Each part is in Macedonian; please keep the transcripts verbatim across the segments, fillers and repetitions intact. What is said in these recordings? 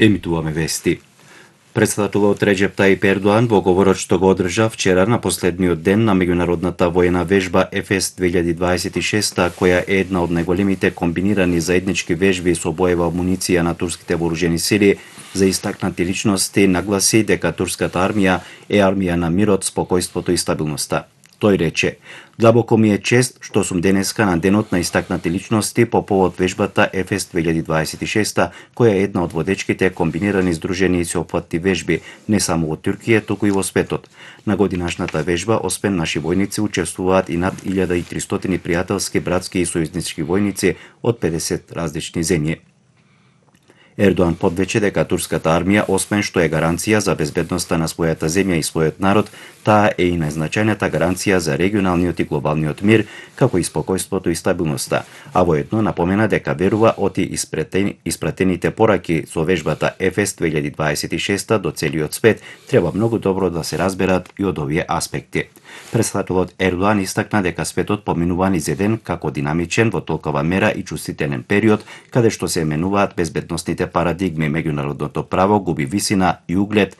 Емитуваме вести. Председателот Реџеп Тајип Ердоан во говорот што го одржа вчера на последниот ден на меѓународната воена вежба ЕФЕС две илјади дваесет и шеста, која е една од најголемите комбинирани заеднички вежби со боева амуниција на турските вооружени сили, за истакнати личности нагласи дека турската армија е армија на мирот, спокојството и стабилноста. Тој рече: "Длабоко ми е чест што сум денеска на денот на истакнати личности по повод вежбата ЕФЕС две илјади дваесет и шеста, која е една од водечките комбинирани здружени и сеопфатни вежби не само во Турција, туку и во светот. На годинашната вежба, освен наши војници, учествуваат и над илјада и тристотини пријателски, братски и сојузнички војници од педесет различни земји." Ердоан подвече дека турската армија, освен што е гаранција за безбедноста на својата земја и својот народ, таа е и најзначајната гаранција за регионалниот и глобалниот мир, како и спокојството и стабилноста, а воедно напомена дека верува оти испратени, испратените пораки со вежбата ЕФЕС две илјади дваесет и шеста до целиот свет треба многу добро да се разберат и од овие аспекти. Председателот Ердоан истакна дека светот поминува низ еден како динамичен во толкова мера и чувствителен период, каде што се менуваат безбедносните парадигми, меѓународното право губи висина и углед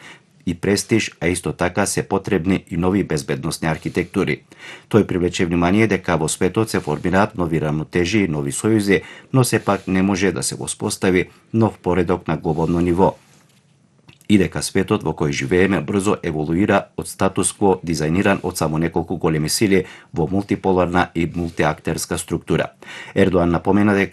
и престиж, а исто така се потребни и нови безбедносни архитектури. Тој привлече внимание дека во светот се формираат нови рамнотежи и нови сојузи, но сепак не може да се воспостави нов поредок на глобално ниво, и дека светот во кој живееме брзо еволуира од статус-кво дизајниран од само неколку големи сили во мултиполарна и мултиактерска структура. Ердоан напомена дека